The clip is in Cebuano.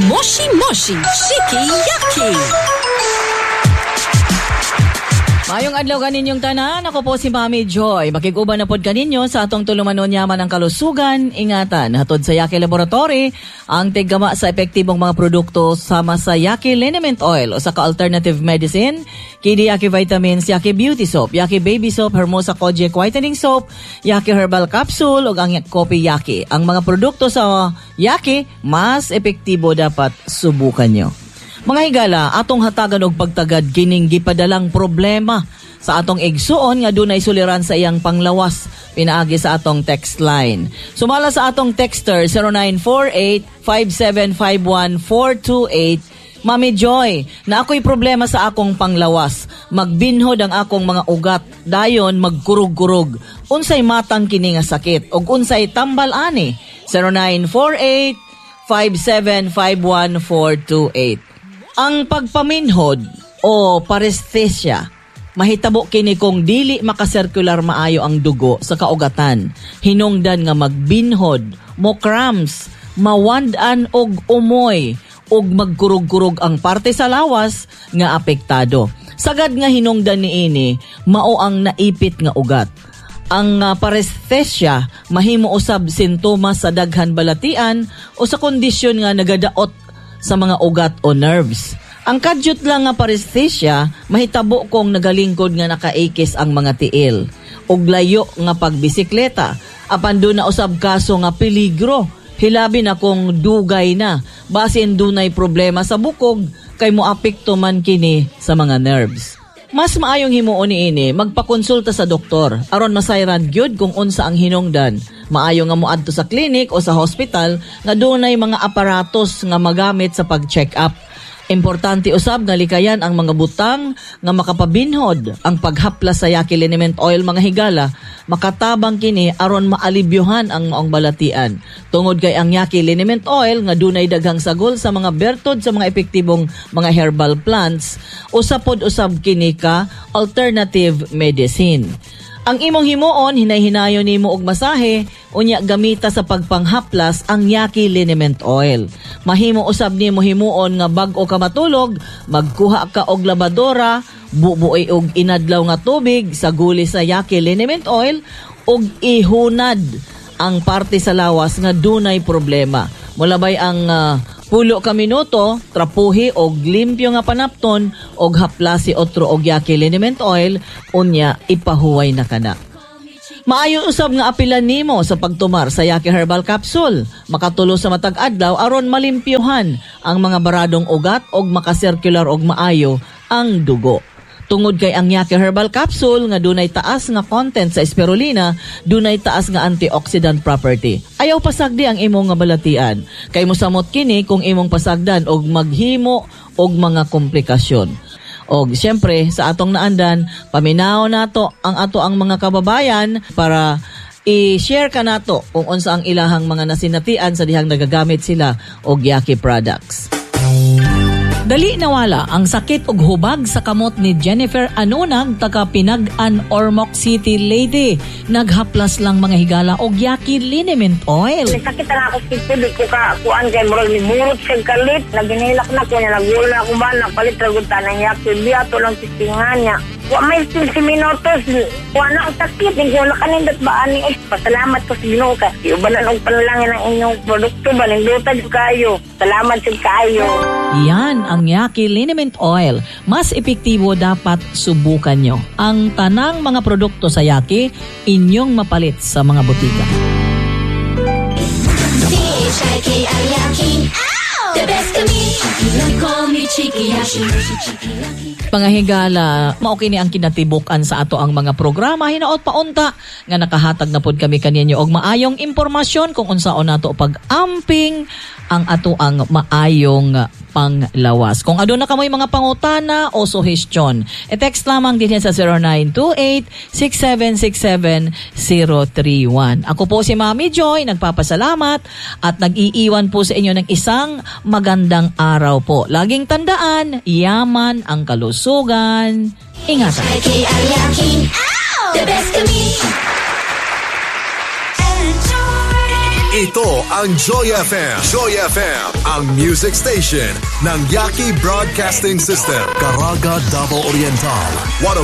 Moshi Moshi Shiki Yaki. Maayong adlaw kaninyong tanan, ako po si Mami Joy. Makig-uban na pod kaninyo sa atong tulumanon yaman ng kalusugan, ingatan. Hatod sa Yaki Laboratory, ang tiggama sa epektibong mga produkto sama sa Yaki Liniment Oil o sa ka-alternative medicine, Kidi Yaki Vitamins, Yaki Beauty Soap, Yaki Baby Soap, Hermosa Kojic Whitening Soap, Yaki Herbal Capsule ug ang Kopi Yaki. Ang mga produkto sa Yaki, mas epektibo dapat subukan nyo. Mga higala, atong hatagan og pagtagad kining gipadalang problema sa atong igsuon nga dunay suliran sa iyang panglawas pinaagi sa atong text line. Sumala sa atong texter 0948-5751-428. Mami Joy, na ako'y problema sa akong panglawas. Magbinhod ang akong mga ugat, dayon magkurog-kurog. Unsay matang kini nga sakit ug unsay tambal ani? 0948-5751428. Ang pagpaminhod o paresthesia, mahitabo kini kung dili makasirkular maayo ang dugo sa kaugatan. Hinungdan nga magbinhod, mo cramps, mawand-an og umoy, ug magkurog-kurog ang parte sa lawas nga apektado. Sagad nga hinungdan niini, mao ang naipit nga ugat. Ang paresthesia mahimo usab sintomas sa daghan balatian o sa kondisyon nga nagadaot sa mga ugat o nerves. Ang kadyot lang nga paresthesia mahitabo kung nagalingkod nga nakaikis ang mga tiil ug layo nga pagbisikleta. Apan doon na usab kaso nga peligro, hilabi na kung dugay na, basin dunay problema sa bukog kay moapekto man kini sa mga nerves. Mas maayong himuon niini magpakonsulta sa doktor aron masayran gyud kung unsa ang hinungdan. Maayo nga moadto sa clinic o sa hospital nga dunay mga aparatos nga magamit sa pag-check up. Importante usab nga likayan ang mga butang nga makapabinhod. Ang paghaplas sa Yaki Liniment Oil, mga higala, makatabang kini aron maalibyuhan ang maong balatian. Tungod kay ang Yaki Liniment Oil nga dunay daghang sagol sa mga bertod sa mga epektibong mga herbal plants, usa pod usab kini ka alternative medicine. Ang imong himuon, hinay-hinayon nimo og masahe, unya gamita sa pagpanghaplas ang Yaki Liniment Oil. Mahimo usab nimo himuon nga bag-o ka matulog, magkuha ka og labadora, bubuoy og inadlaw nga tubig sa guli sa Yaki Liniment Oil ug ihunad ang parte sa lawas nga dunay problema. Mulabay ang 10 ka minuto, trapuhi og limpyo nga panapton og haplasi otro og Yaki Liniment Oil, unya ipahuway na kana. Maayo usab nga apilan nimo sa pagtumar sa Yaki Herbal Capsule. Makatulo sa matag adlaw aron malimpyohan ang mga baradong ugat og makasirkular og maayo ang dugo. Tungod kay ang Yaki Herbal Capsule nga dunay taas nga content sa spirulina, dunay taas nga antioxidant property. Ayaw pasagdi ang imong nga balatian. Kay mosamot kini kung imong pasagdan og maghimo og mga komplikasyon. Og siyempre sa atong naandan, paminaw nato ang ato ang mga kababayan para i-share ka nato kung unsa ang ilahang mga nasinatian sa dihang nagagamit sila og Yaki products. Dali nawala ang sakit og hubag sa kamot ni Jennifer Anunag taga Pinag-an, Ormoc City, Leyte. Naghaplas lang, mga higala, og Yaki Liniment Oil. Sakit na ako dito, di ko ka kuan kay murag ni burot siya kalit. Naginilak na ko niya, nagulo na ako ba, nagpalit ra gud tanang Yaki biya to lang tistingan niya. Wa may 15 minutos, wa na ang sakit, hindi ko nakanindot ba ani. Ay, pasalamat ko sa Ginoo ka. Iubanan og panalangin ang inyong produkto ba, ninduta jud kayo. Salamat jud kaayo. Yan ang Yaki Liniment Oil. Mas epektibo dapat subukan nyo. Ang tanang mga produkto sa Yaki, inyong mapalit sa mga botika. C-H-I-K-I-Yaki. The best kami. Call me Chiki-Yaki. Mga higala, mao kini ang kinatibuk-an sa ato ang mga programa hinaot paunta nga nakahatag na pod kami kaninyo og maayong impormasyon kung unsaon nato pag-amping ang ato ang maayong panglawas. Kung aduna kamoy mga pangutana o suhestyon, e-text lamang din sa 0928-6767-031. Ako po si Mami Joy, nagpapasalamat at nag-iiwan po sa inyo ng isang magandang araw po. Laging tandaan, yaman ang kalusugan. Ingatan. K-I-Yaki. The best kami. Enjoy. Ito ang Joy FM. Joy FM, ang music station ng Yaki Broadcasting System. Caraga, Davao Oriental, 105.